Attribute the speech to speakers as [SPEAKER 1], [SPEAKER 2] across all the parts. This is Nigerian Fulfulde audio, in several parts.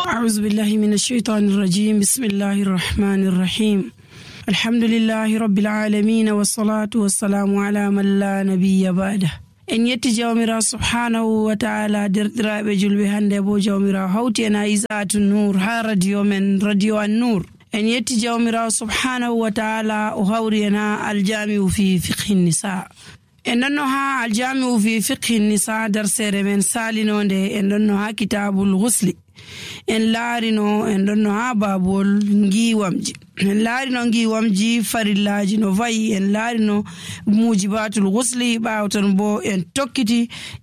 [SPEAKER 1] أعوذ بالله من الشيطان الرجيم. بسم الله الرحمن الرحيم. الحمد لله رب العالمين والصلاة والسلام على من لا نبي بعده. en yetti jawmira subhanahu wa ta'ala derɗiraɓe julɓe hande bo jawmira hawti en Aizatu Nur ha radio men radio an-Nur. en yetti jawmira subhanahu wa ta'ala o hawri en ha aljami'u fi fiqhi nisa. en ɗonno ha aljami'u fi fiqhi nisa darsere men salinonde en ɗonno ha kitabul ghusli. en laarino en ɗonno ha babol ngiwamji. en laarino ngiwamji farillaji no vayi. en laarino mujibatul ghusli ɓawton bo en tokkiti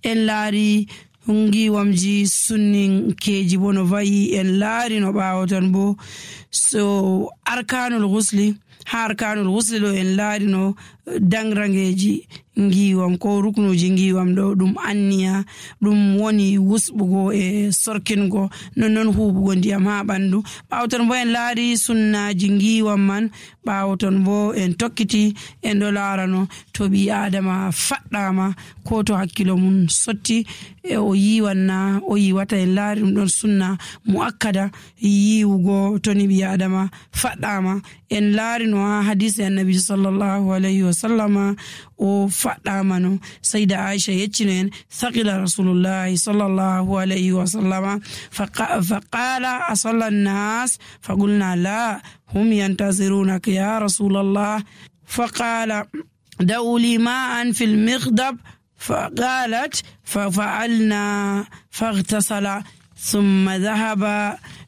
[SPEAKER 1] en laari ngiwamji sunninkeji bo no vayi. en laarino ɓawton bo so arkanul ghusli. ha arkanul ghusli ɗo en laarino dangrangeji ngiwam ko ruknuji ngiwam ɗo ɗum anniya ɗum woni wusɓugo e sorkingo non huɓugo ndiyam ha ɓandu. ɓawton bo en laari sunnaji ngiwam man. ɓawton bo en tokkiti en ɗo laarano to ɓi adama faɗɗama ko to hakkilo mum sotti e o yiwanna o yiwata. en laari ɗum ɗon sunna muakkada yiwugo to ni ɓi adama faɗɗama. en laarino ha hadisi annabi sallallahu alayhi wa sallama o faɗɗama no sayda Aisha yeccino en thaqila rasulullahi sallallahu alayhi wa sallama faqala asalla an-nas faqulna la hum yantazirunaka ya rasulallah faqala da'u li ma'an fil miqdab faqalat fafa'alna faghtasala ثم ذهب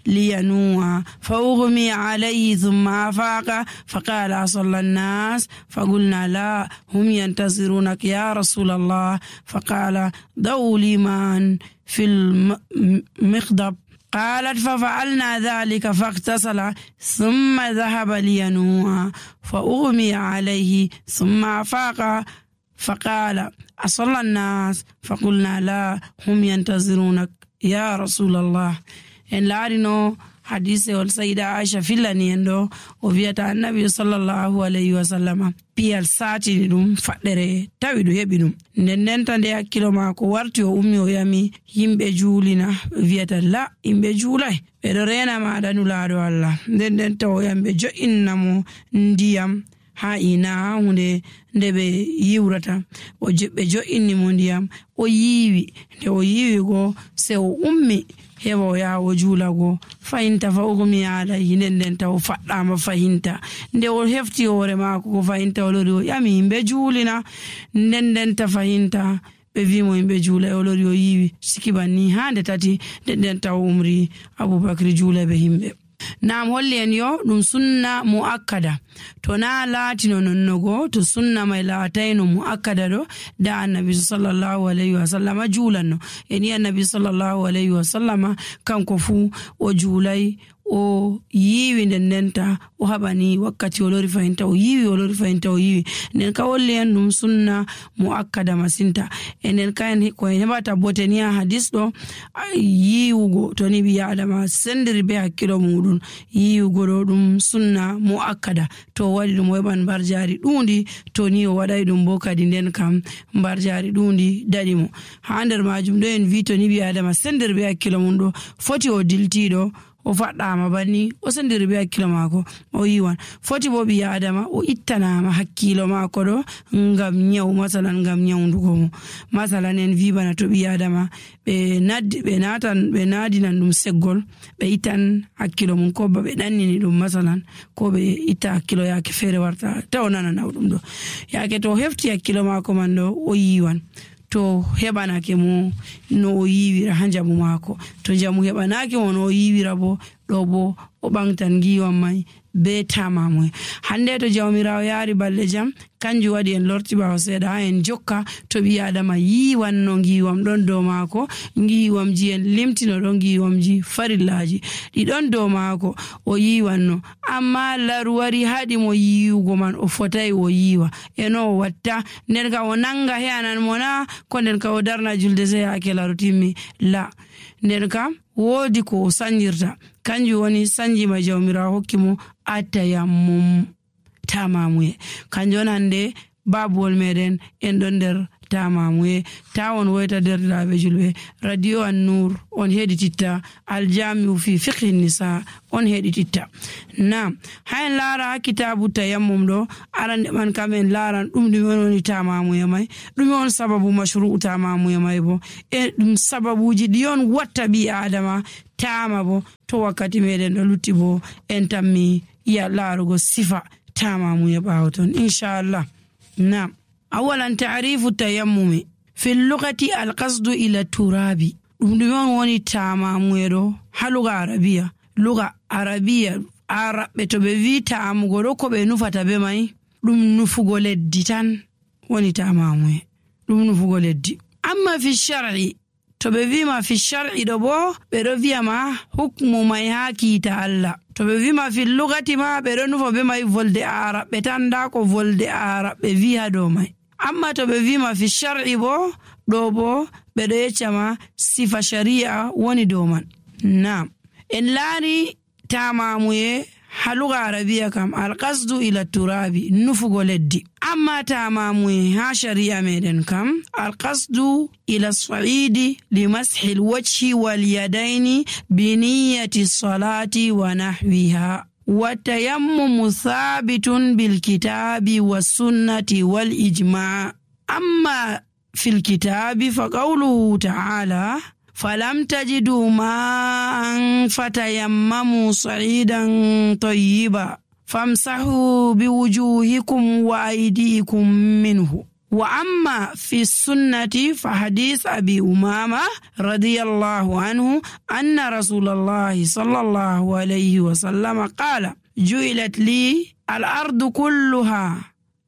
[SPEAKER 1] لينوء فأغمي عليه ثم أفاق فقال صلى الناس فقلنا لا هم ينتظرونك يا رسول الله فقال ضعوا لي ماء في المخضب قالت ففعلنا ذلك فاغتسل ثم ذهب لينوء فأغمي عليه ثم أفاق فقال أصلى الناس فقلنا لا هم ينتظرونك ya rasulallah. en laarino hadise ol sayida Aisha fillani en ɗo o wiyata annabi sallallahu alayhi wa sallama piyal satini ɗum faɗɗere tawi ɗum heɓi ɗum. ndenta nde hakkilo mako warti o ummi o yami yimɓe juulina wiyata la yimɓe juulay ɓeɗo rena maɗa nulaɗo Allah. ndenta o yamɓe jo'innamo ndiyam ha ina hunde nde ɓe yiwrata ɓe jo'inni mo ndiyam o yiwi. nde o yiwi go se o ummi heɓa o yaha o juulago fahinta fa ugmi alayhi. ndenta o faɗɗama fahinta. nde o hefti hoore mako ko fahinta o lori o ƴami yimɓe juulina. ndenta fahinta ɓe wimo yimɓe juula o lori o yiwi sikibanni ha nde tati. ndenta o umri Abubakar juula ɓe yimɓe. nam holli en yo ɗum sunna muakkada. to na laatino nonnogo to sunna may laatayno muakkada ɗo da annabi sallallahu alayhi wa sallama juulanno. en yi annabi sallallahu alayhi wa sallama kanko fu o juulay o yiwi. ndenta o haɓani wakkati o lori fahinta o yiwi o lori fahinta o yiwi. nden ka holli en ɗum sunna muakkada masinta. enen kaen ko en heɓata bote ni ha hadis ɗo yiwugo to ni ɓi adama sendiri be hakkilo muɗum. yiwugo ɗo ɗum sunna muakkada. to waɗi ɗum o heɓan mbarjari ɗundi to ni o waɗay ɗum bo kadi nden kam mbarjari ɗundi daɗimo. ha nder majum ɗo en wi to ni ɓi adama sendiri be hakkilo mum ɗo foti o diltiɗo o faɗɗama banni o sendiri be hakkilo mako o yiwan. foti bo ɓi adama o ittanama hakkilo mako ɗo ngam nyawu masalan ngam nyawdugo mo. masalan en wi bana to ɓi adama ɓe nadinan ɗum seggol ɓe ittan hakkilo mum ko ba ɓe ɗannini ɗum masalan ko ɓe itta hakkilo yake feere warta taw nana nawɗum ɗo yake to hefti hakkilo mako man ɗo o yiwan. to heɓanake mo no o yiwira ha jamu mako. to jamu heɓanake mo no o yiwira bo ɗo bo o ɓangtan ngiwam may be tamamoe. hande to jawmirawo yaari balɗe jam kanjum waɗi en lorti ɓawo seeɗa ha en jokka to ɓi adama yiwanno ngiwam ɗon dow mako. ngiwamji en limtino ɗon ngiwamji farillaji ɗiɗon dow mako o yiwanno. amma laru wari haɗi mo yiwugo man o fotai o yiwa eno o watta. nden ka o nanga heyanan mo na ko nden ka o darna julde se yake laru timmi la. nden kam woodi ko o sanjirta kanjum woni sanjima jawmirawo hokki mo atayammum tamamuye. kanjum on hande babuwol meɗen en ɗon nder tamamuye tawon woyta derdiraaɓe julɓe radio an-nur on heɗititta aljami'u fi fiqhi nisa on heɗititta. Nam hayen laara kitabu tayammum ɗo arande man kamen laaran ɗume woni tamamuye mai, ɗume on sababu mashru'u tamamuye mai bo e ɗum sababuji ɗi on watta ɓi adama tama bo to wakkati meɗen ɗo lutti bo en tammi ya laarugo sifa tamamuye ɓawo ton inchallah. Nam awalan ta'rifu tayammumi fi lugati alqasdu ila turabi, ɗum ɗume on woni tamamuye ɗo ha luga arabiya araɓe to ɓe wi tamugo ɗo ko ɓe nufata be mai ɗum nufugo leddi tan woni tamamuye, ɗum nufugo leddi. Amma fi shar'i to ɓe wima fi shar'i ɗo bo ɓe ɗo wiyama hukmu mai ha kiita Allah. To ɓe wima fi lugati ma ɓe ɗo nufa be mai volde araɓe tan, da ko volde araɓe wi ha dow mai. Amma to ɓe wima fi shar'i bo ɗo bo ɓe ɗo yeccama sifa shari'a woni dow man. Naam en laari tamamuye ha luga arabiya kam alqasdu ila turabi nufugo leddi. Amma tamamuye ha shari'a meɗen kam alqasdu ila sa'idi li mashi alwajhi wal yadaini bi niyyati salati wa nahwiha wa tayammumu thabitun bil kitabi was sunnati wal ijma'. Amma fil kitabi fa qawluhu ta'ala فلم تجدوا ماء فتيمموا صعيدا طيبا فامسحوا بوجوهكم وأيديكم منه. وأما في السنة فحديث أبي أمامة رضي الله عنه أن رسول الله صلى الله عليه وسلم قال جعلت لي الأرض كلها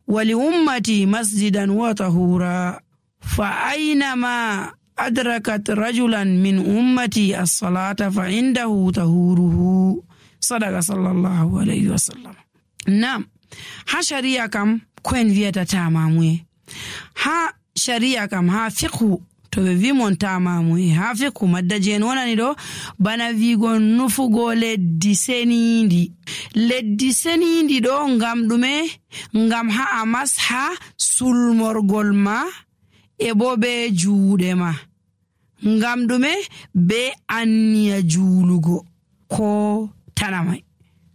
[SPEAKER 1] ولأمتي مسجدا وطهورا فأينما أدركت رجلا من أمتي الصلاة فعنده طهوره. صدق صلى الله عليه وسلم. نعم ها شريعة كم كوين فيتا تاماموي ها شريعة كم ها فقه to ɓe wimon tamamuye ha fikku maddaji en wonani ɗo bana wigo nufugo leddi senindi ɗo ngam ɗume, ngam ha a masha sulmorgol ma e bo be juuɗe ma, ngam ɗume be anniya juulugo ko tanamai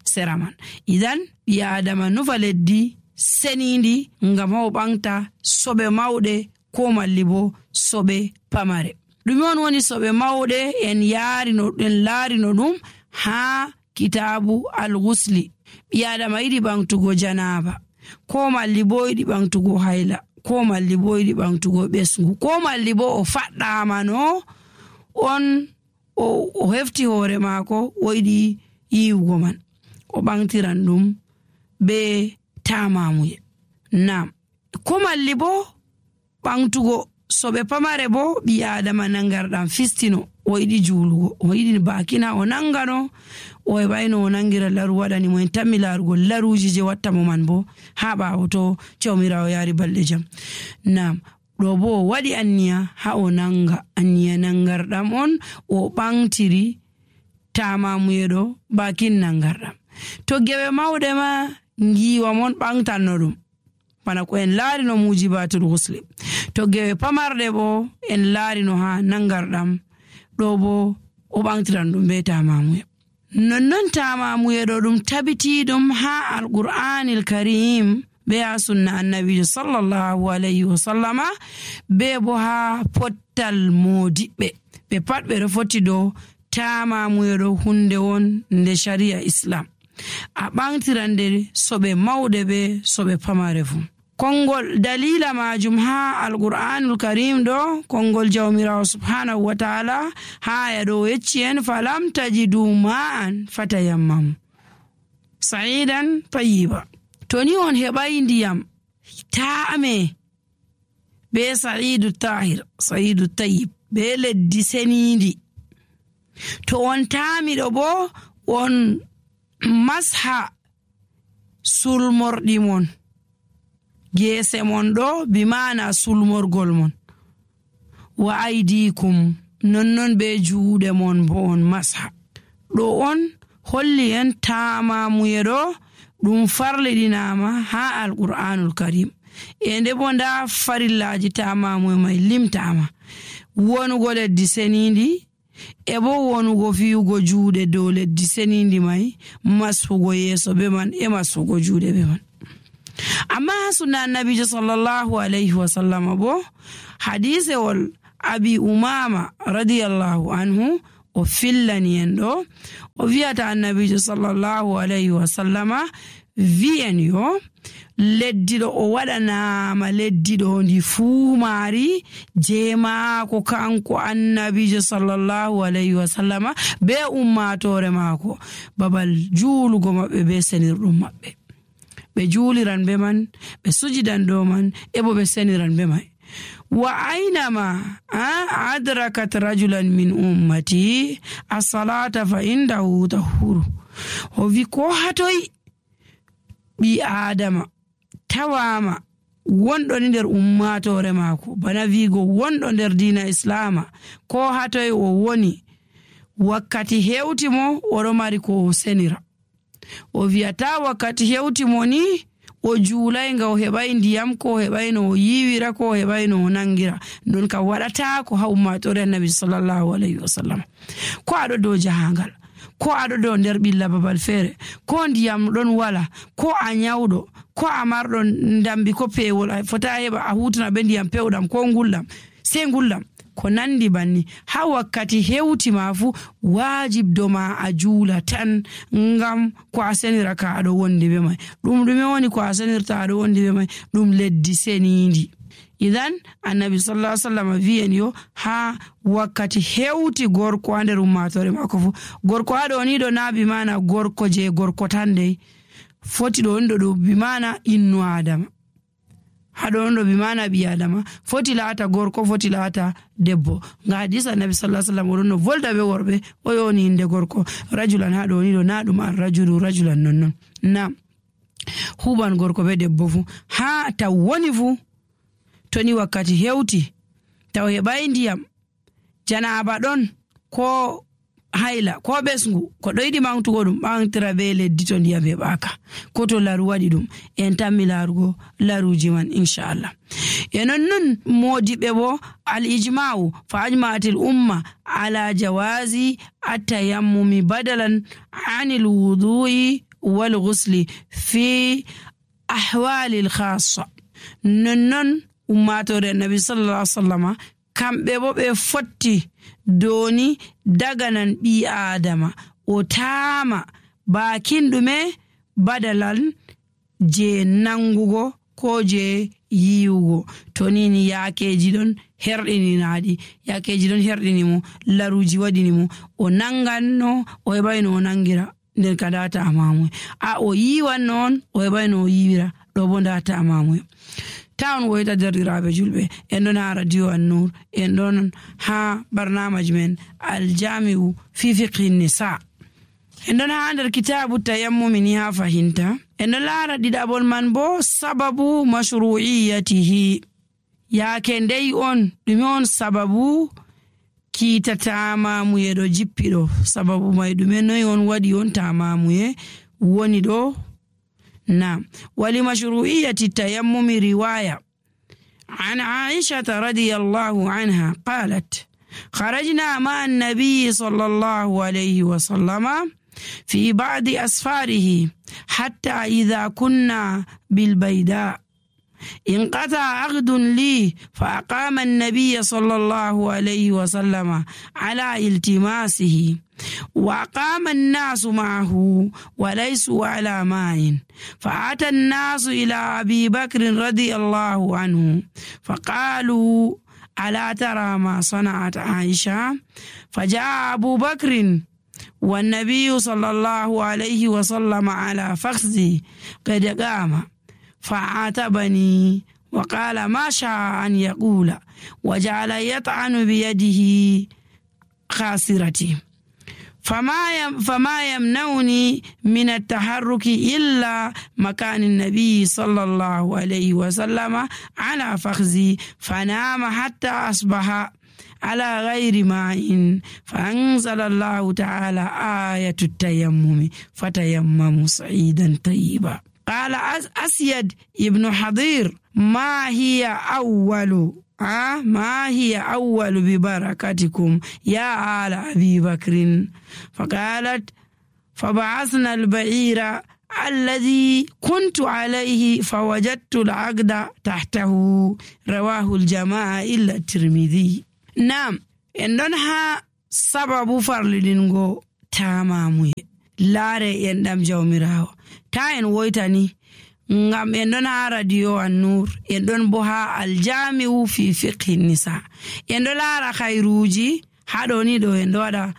[SPEAKER 1] sera man. Idan ɓi adama nufa leddi senindi ngam ha o ɓangta soɓe mawɗe ko malli bo soɓe pamare. ɗume on woni soɓe mawɗe? en laarino ɗum ha kitabu al-ghusli. ɓi adama yiɗi ɓangtugo janaba ko malli bo yiɗi ɓangtugo hayla ko malli bo yiɗi ɓangtugo ɓesgu ko malli bo o faɗɗamano on o hefti hoore maako o yiɗi yiwugo man, o ɓangtiran ɗum be tamamuye. Naam ko malli bo ɓangtugo soɓe pamare bo ɓi adama nangarɗam fistino o yiɗi juulugo, o yiɗi bakina o nangano o heɓayno o nangira laru waɗani mo en tammi laarugo laruji je watta mo man bo ha ɓawo to jawmirawo yaari balɗe jam. Naam ɗo bo o waɗi anniya ha o nanga, anniya nangarɗam on o ɓangtiri tamamuye ɗo bakin nangarɗam. To geɓe mawɗe ma ngiwa mon ɓangtanno ɗum bana ko en laarino mujibatul ghusli. To gewe pamarde bo en laarino ha nangarɗam ɗo bo o ɓangtiran ɗum be tamamuye. Nonnon tamamuye ɗo ɗum tabitiɗum ha alqur'anil karim be ha sunna annabijo sallallahu alayhi wa sallama be bo ha pottal modiɓɓe ɓe pat ɓe ɗo foti ɗo tamamuye ɗo hunde won nde sharia islam. A ɓangtirande soɓe mawɗe be soɓe pamare fu. Kongol dalila majum ha alqur'anul karim ɗo kongol jawmirawo subhanahu wa ta'ala ha aya ɗo yecci en falam tajidu ma'an fatayammamu sa'idan tayyiba. To ni on heɓai ndiyam ta'ame be sa'idu tahir sa'idu tayyib be leddi senindi, to on tami ɗo bo on masha sulmorɗi mon geese mon ɗo bimana sulmorgol mon wa aidikum nonnon be juuɗe mon bo on masha. ɗo on holli en tamamuye ɗo ɗum farliɗinama ha alqur'anul karim. e nde bo nda farillaji tamamu mai limtama wonugo leddi senindi e bo wonugo fiyugo juuɗe dow leddi senindi mai masfugo yeeso be man e masfugo juuɗe be man. Amma sunna annabijo sallallahu alayhi wa sallam bo hadisewol abi umama radiyallahu anhu o fillani en ɗo o wiyata annabijo sallallahu alayhi wa sallama wi'en yo leddiɗo o waɗanama leddiɗo ndi fuu maari je maako kanko annabijo sallallahu alayhi wa sallama be ummatore maako babal juulugo maɓɓe be senirɗum maɓɓe. Ɓe juuliran be man, ɓe sujidan dow man, e bo ɓe seniran be mai. Wa aynama adrakat rajulan min ummati as-salata fa indahu tahuru. O wi ko hatoy ɓi adama tawama wonɗo nder ummatore maako bana wiigo wonɗo nder diina islama ko hatoy o woni wakkati hewti mo oɗo mari ko o senira. O wiyata wakkati hewti mo ni o juulayga o heɓay ndiyam ko o heɓay no o yiwira ko o heɓay no o nangira non ka waɗata ko ha ummatore annabi sallallahu alayhi wa sallam. Ko aɗo dow jahangal, ko aɗo dow nder ɓilla babal feere, ko ndiyam ɗon wala, ko a nyawɗo, ko a marɗo ndambi ko pewol a fota heɓa a hutana ɓe ndiyam pewɗam ko ngulɗam sey ngulɗam ko nandi banni ha wakkati hewti ma fu wajibdo ma a juula tan ngam ko a senira ka aɗo wondi be mai. Ɗum ɗume woni ko a senirta aɗo wondi be mai? Ɗum leddi senindi. Idan annabi sallallahu alaihi wasallam wi'en yo ha wakkati hewti gorko ha nder ummatore mako fu, gorko haɗo ni ɗo na bi mana gorko je gorko tan dai foti ɗo on ɗo bi mana innu adama, haɗo on ɗo bi mana ɓi adama foti laata gorko, foti laata debbo. Nga hadisa annabi sallallahu alaihi wasallam oɗon no volda be worɓe o yoni inde gorko rajulan haɗo ni ɗo na ɗum an rajulu rajulan nonnon na huban gorko be debbo fu ha taw woni fu toni wakkati hewti taw heɓai ndiyam janaba ɗon ko hayla ko ɓesngu ko ɗo yiɗi mantugo ɗum ɓantira be leddi to ndiyam heɓaka ko to laru waɗi ɗum en tammi larugo laruji man inchallah. E nonnon modiɓe bo al ijma'u fa ajma'atil umma ala jawazi at-tayammumi badalan anil wudu'i wal ghusli fi ahwalil khassa. Nonnon ummatore annabi sallallahu alaihi wasallam kamɓe bo ɓe fotti doni daganan ɓi adama o tama bakin ɗume badalan je nangugo ko je yiwugo to nini yakeji ɗon herɗininaɗi, yakeji ɗon herɗinimo, laruji waɗinimo o nanganno o heɓayno o nangira nden ka data amamuye a o yiwan noon o heɓayno o yiwira ɗo bo data amamuye. Town woyta derɗiraɓe julɓe en ɗon ha radio An-Nur, en ɗon ha barnamaji men aljami'u fi fiqhi nisa, en ɗon ha nder kitabu tayammumi ni ha fahinta en ɗon laara ɗiɗaɓol man bo sababu mashru'iyatihi yaake ndey on ɗume on sababu kiita tamamuye ɗo jippiɗo sababu may ɗume noy on waɗi on tamamuye woni ɗo. نعم. ولمشروعية التيمم رواية عن عائشة رضي الله عنها قالت خرجنا مع النبي صلى الله عليه وسلم في بعض أسفاره حتى إذا كنا بالبيداء انقطع عقد لي فأقام النبي صلى الله عليه وسلم على التماسه وأقام الناس معه وليسوا على ماء فأتى الناس إلى أبي بكر رضي الله عنه فقالوا ألا ترى ما صنعت عائشة؟ فجاء أبو بكر والنبي صلى الله عليه وسلم على فخذي قد قام فعاتبني وقال ما شاء أن يقول وجعل يطعن بيده خاسرتي فما يمنعني من التحرك إلا مكان النبي صلى الله عليه وسلم على فخذي فنام حتى أصبح على غير ماء فأنزل الله تعالى آية التيمم فتيمموا صعيدا طيبا. qala asyad ibnu hadir ma hiya awwalu bibarakatikum ya ala abi bakrin faqalat فبعثنا البعير الذي كنت عليه فوجدت العقد تحته رواه الجماعة إلا الترمذي. نعم إنها سبب فرلدنغو تامامي لاري يندم جوميراو تاين ويتاني ngam en ɗon ha radio an-nur en ɗon bo ha aljami'u fi fiqhi nisa en ɗo laara khairuji haɗo ni ɗo en ɗo waɗa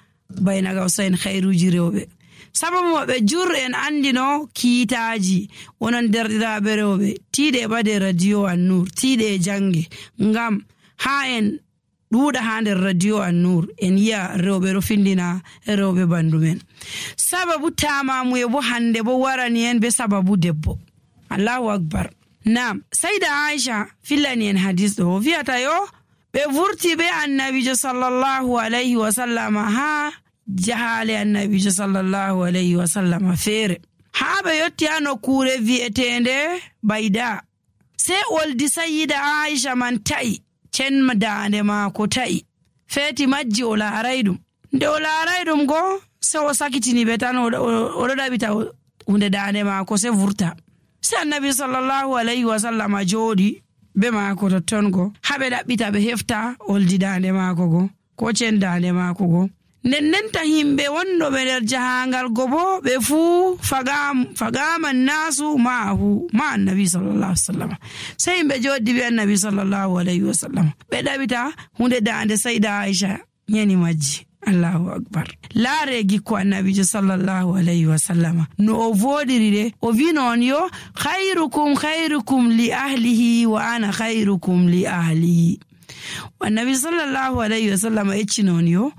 [SPEAKER 1] bayna gawsain khairuji rewɓe sababu maɓɓe jur en andino kiitaji wonon derɗiraɓe rewɓe tiiɗe ɓade radio an-nur tiiɗe jange ngam ha en ɗuuɗa ha nder radio an-nur en yi'a rewɓe ɗo findina rewɓe bandu men. Sababu tamamuye bo hande bo warani en be sababu debbo. Allahu akbar. Naam, Sayda Aisha fillani en hadis ɗo wi'ata yo ɓe vurti be annabijo sallallahu alayhi wa sallama ha jahale annabijo sallallahu alayhi wa sallama feere ha ɓe yotti ha nokkure vi'etende Bayda. Sai oldi Sayyida Aisha man ta'i cen dande maako ta'i feeti majji o laaray ɗum nde o laaray ɗum go se o sakitini ɓe tan oɗo ɗaɓita hunde dande maako se vurta. Se annabi sallallahu alayhi wa sallama jooɗi be maako totton go haɓe ɗaɓɓita ɓe hefta oldi dande maako go ko cen dande maako go. Nennenta himɓe wonɗoɓe nder jahangal go bo ɓe fuu fagaman nasu ma'ahu ma annabi sallallahu alaihi wasallam. Sai himɓe joddi be annabi sallallahu alaihi wasallam ɓe ɗaɓita hunde dande Sayda Aisha yani majji. Allahu akbar. Laare gikko annabijo sallallahu alaihi wasallam no o vodiri de o wi non yo khairukum li ahlihi wa ana khairukum li ahli. Annabi sallallahu alaihi wasallam ecci non yo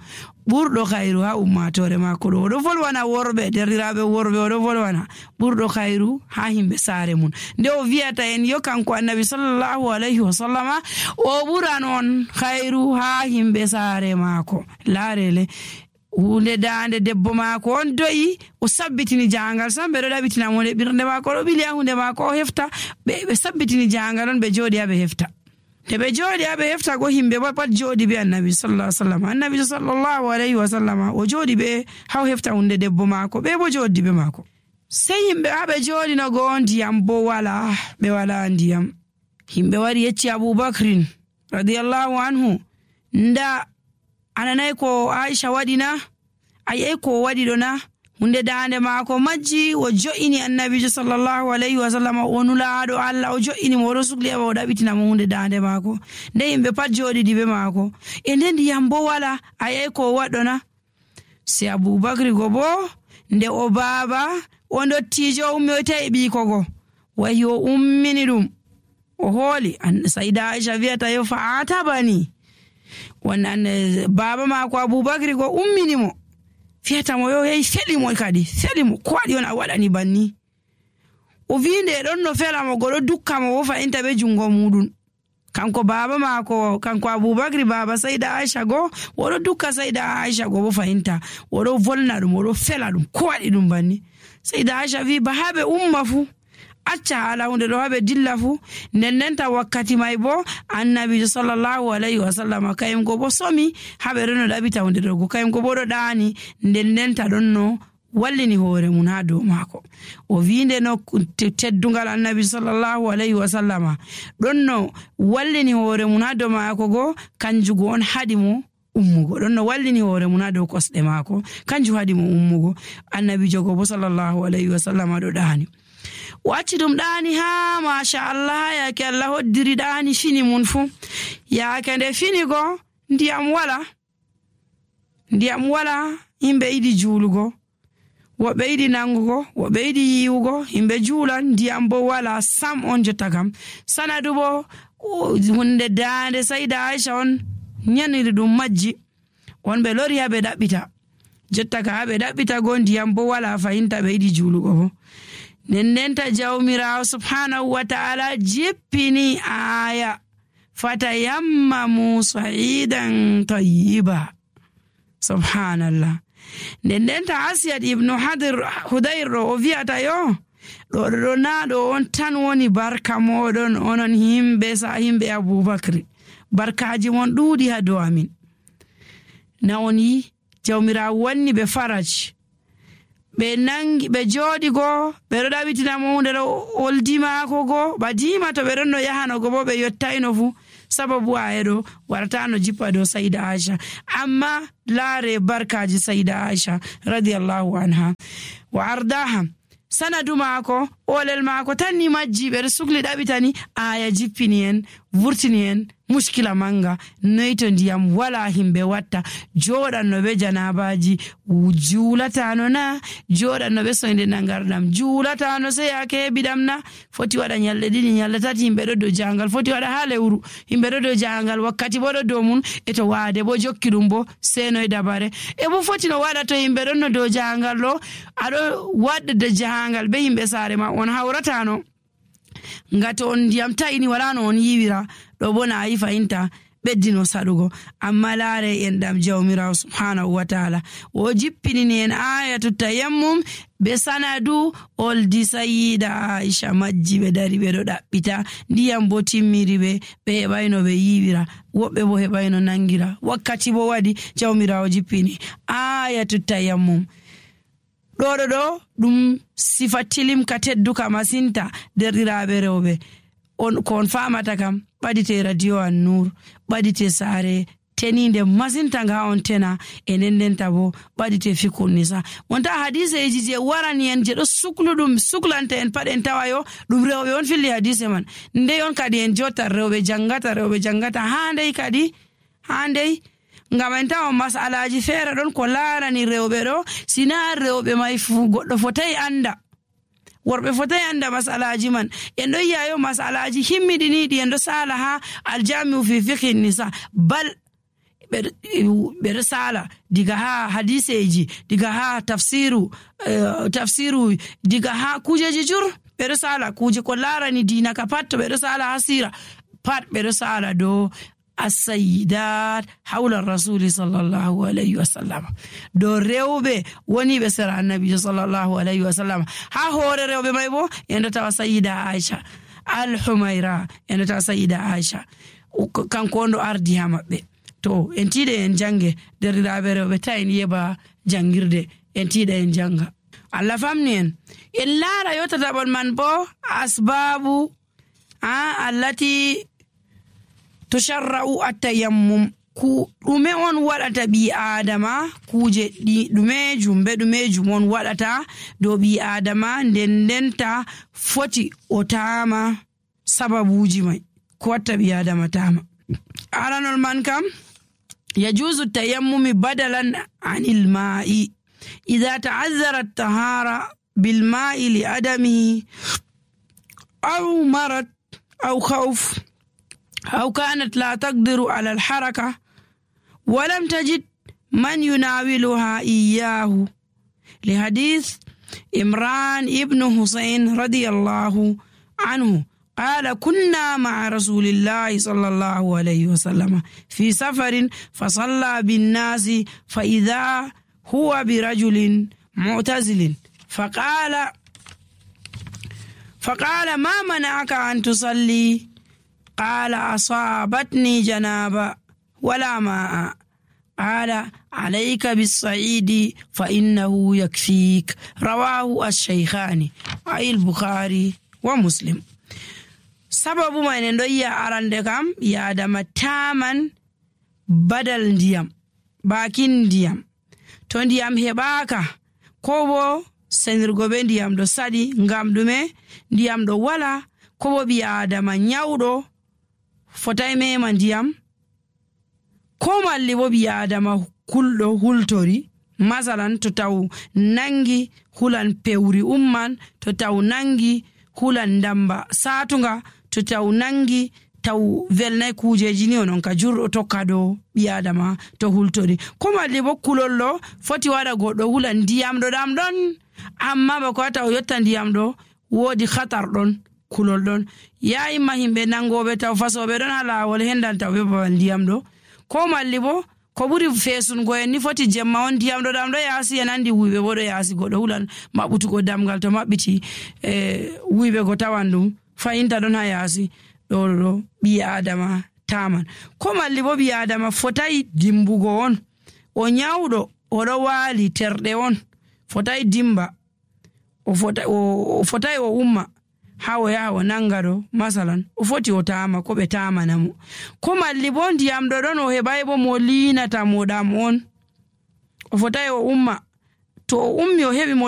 [SPEAKER 1] ɓurɗo khairu ha ummatore mako ɗo oɗo volwana worɓe derɗiraɓe worɓe oɗo volwana ɓurɗo khairu ha himɓe saare mun nde o wiyata en yo kanko annabi sallallahu alaihi wasallama o ɓuran on khairu ha himɓe saare mako. Laarele hunde dande debbo mako on do'i o sabbitini jangal sam ɓe ɗo ɗaɓitina mo ɓirde mako ɗo ɓili ha hunde mako o hefta ɓe sabbitini jangal on ɓe jooɗi ha ɓe hefta. Te ɓe jooɗi ha ɓe hefta go himɓe pat jooɗi be annabi sallallahu alaihi wasallam. Annabi sallallahu alaihi wasallam o jooɗi ɓe ha hefta hunde debbo mako ɓe bo jooɗi be mako. Sei himɓe ha ɓe jooɗi no go ndiyam bo wala ɓe wala ndiyam. Himɓe wari yecci Abubakrin radiyallahu anhu nda ananay ko Aisha waɗina ayey ko waɗi ɗo na hunde dande maako majji o jo'ini annabijo sallallahu alaihi wasallam o nulaaɗo Allah o jo'ini mo o sugli o ɗaɓitina mo hunde dande maako nde yimɓe pat jooɗiɗi be maako e nde ndiyam bo wala ayey ko waɗɗona. Se Abubakri go bo nde o baaba o ndottijo ummi o tawi ɓiiko go wayi o ummini ɗum o hooli Sayda Aisha wiyata yo fa atabani wannan baaba maako Abubakri go ummini mo fiyata mo yo hey felimo kadi felimo ko waɗi on a waɗani banni o winde ɗon no fela mo goɗo dukka mo wo fa'inta be jungo muɗum kanko baba maako kanko Abubakri baba Sayda Aisha go oɗo dukka Sayda Aisha go wo fa'inta oɗo volna ɗum oɗo fela ɗum ko waɗi ɗum banni. Sayda Aisha wi ba haɓe umma fu acca hala hunde ɗo haɓe dilla fu nennenta wakkati may bo annabijo sallallahu alaihi wasallam kayum go bo somi haɓe ɗon no ɗaɓita hunde ɗo go kayum go bo ɗo ɗaani nennenta ɗon no wallini hoore mun ha dow maako o winde no teddungal annabi sallallahu alaihi wasallam ɗon no wallini hoore mun ha dow maako go kanjugo on haɗi mo ummugo ɗon no wallini hoore mun ha dow kosɗe maako kanju haɗi mo ummugo annabijo go bo sallallahu alaihi wasallam ɗo ɗaani o acci ɗum ɗaani ha machallah yaake Allah hoddiri ɗaani fini mun fu yaake nde fini go ndiyam wala yimɓe yiɗi juulugo woɓɓe yiɗi nangugo woɓɓe yiɗi yiwugo yimɓe juulan ndiyam bo wala sam on jotta kam sanadu bo hunde daande Sayda Aisha on ñaniri ɗum majji on ɓe lori ha ɓe ɗaɓɓita jotta ka ha ɓe ɗaɓɓita go ndiyam bo wala fayinta ɓe yiɗi juulugo bo nennenta jawmirawo subhanahu wa ta'ala jippini aya fatayammamu sa'idan tayyiba subhanallah. Nennenta Asyad ibnu Hudayr o wiyata yo ɗo na ɗo on tan woni barka moɗon onon himɓe Aboubacry. Barkaji mon ɗuuɗi ha dow amin. Na on yi jawmirawo wanni ɓe faraj. Ɓe jooɗi go ɓe ɗo ɗaɓitina mo hunde ɗo oldi maako go badima to ɓe ɗon no yahano go bo ɓe yottayno fu sababu ayeɗo waratano jippa dow Sayida Aisha. Amma laare barkaji Sayida Aisha radiyallahu anha wa ardaha. Sanadu maako olel maako tan ni majji ɓe ɗo sukli ɗaɓitani aya jippini en vurtini en muskila manga. Noy to ndiyam wala himɓe watta joɗanno ɓe janabaji juulatano na, joɗanno ɓe soyde nangardam juulatano sey yake heɓiɗam na, foti waɗa nyalɗe ɗiɗi nyalɗe tati himɓe ɗo dow jangal, foti waɗa ha lewru himɓe ɗo dow jangal, wakkati bo ɗo dow mun e to waade bo jokki ɗum bo senoy dabare e bo foti no waɗa to himɓe ɗon no dow jangal ɗo aɗo waɗde jangal be himɓe saare ma on hawratano ngati on ndiyam tayini wala no on yiwira ɗo bo na yi fayinta ɓeddino saɗugo. Amma laare en ɗam jawmirawo subhanahu wa taala o jippinini en ayatu tayammum be sanadu oldi Sayida Aisha majji ɓe dari ɓe ɗo ɗaɓɓita ndiyam bo timmiri ɓe heɓayno ɓe yiwira, woɓɓe bo heɓayno nangira. Wakkati bo waɗi jawmirawo jippini ayatu tayammum. ɗo ɗum sifa tilimka tedduka masinta derɗiraɓe rewɓe on ko on famata kam ɓadite radio an Nur, ɓadite saare teninde masinta nga on tena e ndendenta bo ɓadite fikul nisa. Wonta hadiseji je warani en je ɗo sukluɗum suklanta en paɗen tawayo ɗum rewɓe on filli hadise man. Ndey on kadi en jottan rewɓe jangata handey ngam en tawa masalaji feere ɗon ko laarani rewɓe ɗo sina rewɓe may fu goɗɗo fotai anda, worɓe fotai anda masalaji man. En ɗo yi'ayo masalaji himmiɗiniɗi en ɗo sala ha aljami'u fi fiqhi nisa, bal ɓeɗo sala diga ha hadiseji, diga ha tafsiru diga ha kujeji jur ɓeɗo sala kuje ko laarani dina ka pat ɓeɗo sala ha sira pat ɓeɗo sala do as-sayyidat hawla rasuli sallallahu alayhi wa sallam. Do rewɓe woni ɓe sera annabi sallallahu alayhi wa sallam. Ha hoore rewɓe may bo en ɗo tawa Sayida Aisha al-Humayra, en ɗo tawa Sayida Aisha kanko on ɗo ardi ha maɓɓe. To en tiiɗe en jange derɗiraɓe rewɓe ta en yeba jangirde, en tiiɗa en janga. Allah famni en laara yottataɓol man bo asbabu allati tusharra'u at-tayammum. Ku ɗume on waɗata ɓi adama, kuje ɗumejum on waɗata dow ɓi adama ndendenta foti o tama sababuji mai ko watta ɓi adama tama. Aranol man kam yajuzu at-tayammumi badalan anil ma'i idha ta'azzara at-tahara bil ma'i li adamihi aw marad aw khawf أو كانت لا تقدر على الحركة ولم تجد من يناولها إياه، لحديث إمران ابن حسين رضي الله عنه قال كنا مع رسول الله صلى الله عليه وسلم في سفر فصلى بالناس فإذا هو برجل معتزل فقال ما منعك أن تصلي؟ قال أصابتني جنابة ولا ماء. قال عليك بالصعيد فإنه يكفيك. رواه الشيخان أي البخاري ومسلم. سبب ما ندوي أرند كم يا دم تامن بدل ديام باكين ديام تون ديام هباكا كوبو senirgoɓe ndiyam ɗo saɗi ngam ɗume ndiyam ɗo wala ko bo ɓi adama nyawɗo fotai mema ndiyam ko malli bo ɓi adama kulɗo hultori masalan to taw nangi hulan pewri umman to taw nangi hulan ndamba satunga to taw nangi taw velnai kujeji ni onon ka jurɗo tokka do ɓi adama to hultori ko malli bo kulollo foti waɗa goɗɗo hulan ndiyam ɗo ɗam ɗon amma bako wata o yotta ndiyam ɗo woodi khatar ɗon kulol ɗon yayima himɓe nangoɓe taw fasoɓe ɗon ha lawol hendan taw ɓe babal ndiyam ɗo ko malli bo ko ɓuri fesungo en ni foti jemma on ndiyam ɗo ɗam ɗo yaasi en andi wuyɓe bo ɗo yaasi goɗɗo hulan maɓɓutugo damgal to maɓɓiti wuyɓe go tawan ɗum fayinta ɗon ha yaasi ɗo ɓi adama taman ko malli bo ɓi adama fotai dimbugo on o nyawɗo oɗo waali terɗe on fotai dimba o fotai o umma ha o yaha o nanga ɗo masalan o foti o tama ko ɓe tamana mo ko malli bo ndiyam ɗo ɗon o heɓai bo mo linata mo ɗam on o fotai o umma to o ummi o heɓi mo